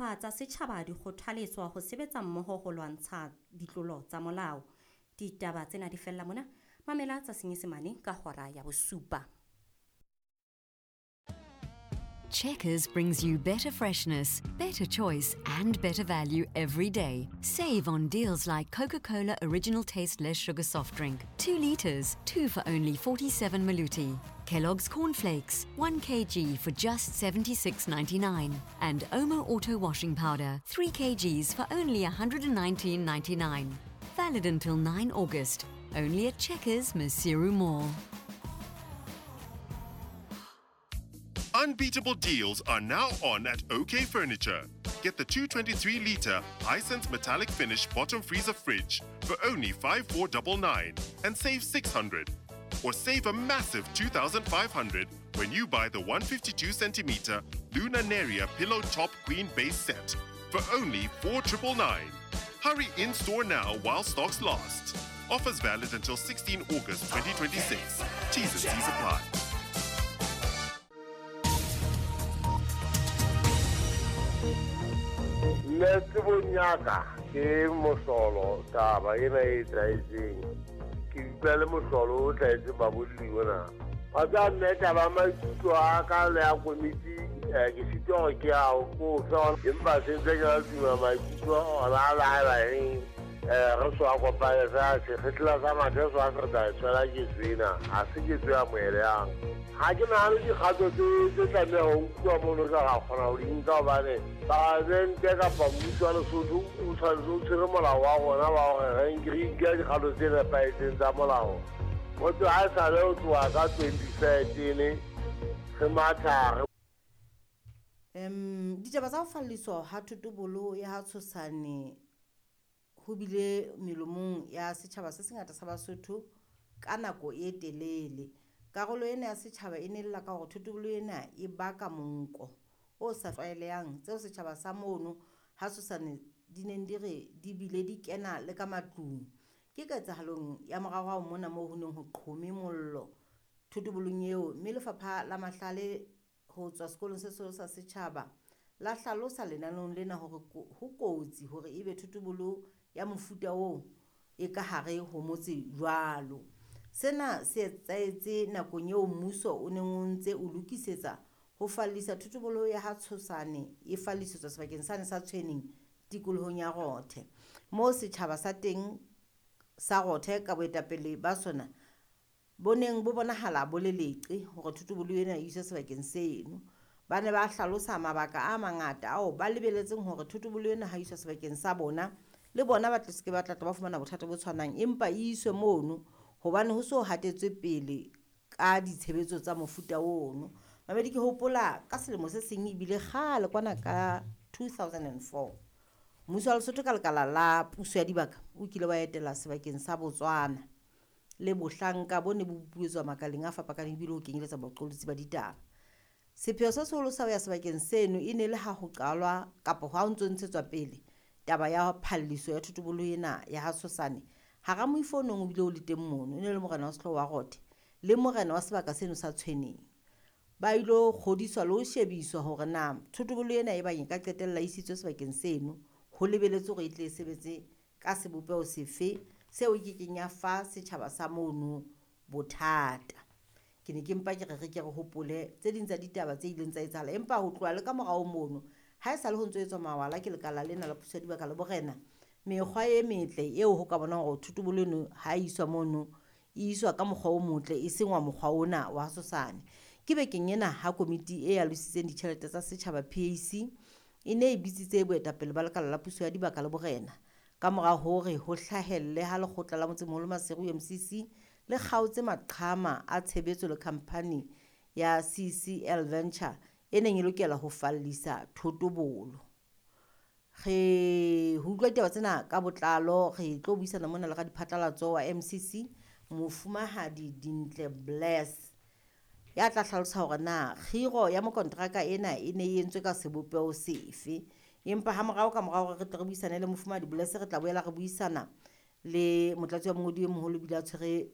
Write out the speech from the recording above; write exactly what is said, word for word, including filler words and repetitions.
Tsa setjhaba di kgothaletswa ho sebetsa mmoho ho lwantsha ditlolo tsa molao. Ditaba tsena di fella mona. Mamela tsa Senyesemane ka hora ya bosupa. Checkers brings you better freshness, better choice, and better value every day. Save on deals like Coca Cola Original Taste Less Sugar Soft Drink, two litres, two for only forty-seven Maluti. Kellogg's Cornflakes, one kilogram for just seventy-six ninety-nine. And Omo Auto Washing Powder, three kilograms for only one hundred nineteen ninety-nine. Valid until nine August. Only at Checkers, Maseru Mall. Unbeatable deals are now on at OK Furniture. Get the two twenty-three litre Hisense metallic finish bottom freezer fridge for only five four nine nine and save six hundred. Or save a massive two thousand five hundred when you buy the one fifty-two centimeter Luna Neria pillow top queen base set for only four nine nine nine. Hurry in store now while stocks last. Offers valid until sixteenth August twenty twenty-six. T's and C's apply. Nna tsebong ya ka ke mohlolo taba ena e etsahetseng. Ke utlwa le mohlolo o tlwaetseng babolli ona. Wa tseba mme taba ya maikutlo a ka le ya komiti, eh, ke sitwa hore ke a o fe, empa se ntse ke la tuma maikutlo ona a laela eng, eh, re so a kopane fela sekgehla sa mathe so a se re tla e tshwela ketso ena, ha se ketso ya moelehang. Ha ke nahane dikgato tse tse tlameha ho nkuwa mono ka ra kgona ho di nka hobane palamente kapa mmuso wa Lesotho o tshwanetse o tshwere molao wa rona wa hore re nke re nke dikgato tse nepahetseng tsa molao. Motho ha e sale ho tloha ka twenty thirteen re matha re Um, ditaba tsa ho falliswa ha thotobolo ya ha Tshosane ho bile melomong ya setjhaba se sengata sa Basotho ka nako e telele. Karolo ena ya setjhaba e ne lla ka hore thotobolo ena e baka monko o sa tlwaelehang, tseo setjhaba sa mono ha Tshosane di neng di re di bile di kena le ka matlung. Ke ketsahalong ya moraorao mona moo ho neng ho qhome mollo thotobolong eo, mme lefapha la mahlale ho tswa sekolong se seholo sa setjhaba la hlalosa lenaneong lena hore ho kotsi hore ebe thotobolo ya mofuta oo e ka hare ho motse jwalo. Sena se etsahetse nakong eo mmuso o neng o ntse o lokisetsa ho fallisa thotobolo ya ha Tshosane e fallisetswa sebakeng sane sa Tshweneng tikolohong ya Rothe, moo setjhaba sa teng sa Rothe ka boetapele ba sona bo neng bo bonahala bo le leqe hore thotobolo ena e iswe sebakeng seno. Ba ne ba hlalosa mabaka a mangata ao ba lebeletseng hore thotobolo ena ha iswa sebakeng sa bona le bona ba tle se ke ba tla ba fumana bothata bo tshwanang, empa e iswe mono hobane ho so hatetswe pele ka ditshebetso tsa mofuta ono. Mamedi, ke hopola ka selemo se seng ebile kgale kwana ka two thousand and four mmuso wa Lesotho ka lekala la puso ya dibaka o kile wa etela sebakeng sa Botswana le bohlanka bo ne bo buetswa makaleng a fapakaneng ebile ho kenyeletsa baqolotsi ba ditaba. Sepheo se seholo sa ho ya sebakeng seno e ne le ha ho qalwa kapa ha ho ntso ntshetswa pele taba ya phalliso ya thotobolo ena ya ha Tshosane. Hara moifo o neng o bile o le teng mono e ne le morena wa sehlooho wa Rothe le morena wa sebaka seno sa Tshweneng. Ba ilo kgodiswa le ho shebiswa hore na thotobolo ena e bang e ka qetella e isitswe sebakeng seno ho lebeletswe hore e tle e sebetse ka sebopeho sefe seo e kekeng ya fa setjhaba sa mono bothata. Ke ne ke mpa ke re re ke re hopole tse ding tsa ditaba tse ileng tsa etsahala, empa ho tloha le ka morao mono ha e sale ho ntso etswa mawala ke lekala lena la puso ya dibaka le borena, mekgwa e metle eo ho ka bonang hore thotobolo eno ha e iswa mono e iswa ka mokgwa o motle e seng wa mokgwa ona wa Tshosane. Ke bekeng ena ha komiti e alositseng ditjhelete tsa setjhaba P A C e ne e bitsitse boetapele ba lekala la puso ya dibaka le borena ka mora hore ho hlahelle ha lekgotla la motsemoholo Maseru M C C le kgaotse maqhama a tshebetso le khamphani ya C C L Venture e neng e lokela ho fallisa thotobolo. Re ho utlwa ditaba tsena ka botlalo re tlo buisana mona le radiphatlalatso wa M C C Mofumahadi Dintle Bless ya tla hlalosa hore na kgiro ya mokontraka ena e ne e entswe ka sebopeho sefe. Empa ha morao ka morao re tle re buisane le Mofumahadi Bless, re tla boela re buisana le motlatsi wa mongodi e moholo bile a tshwere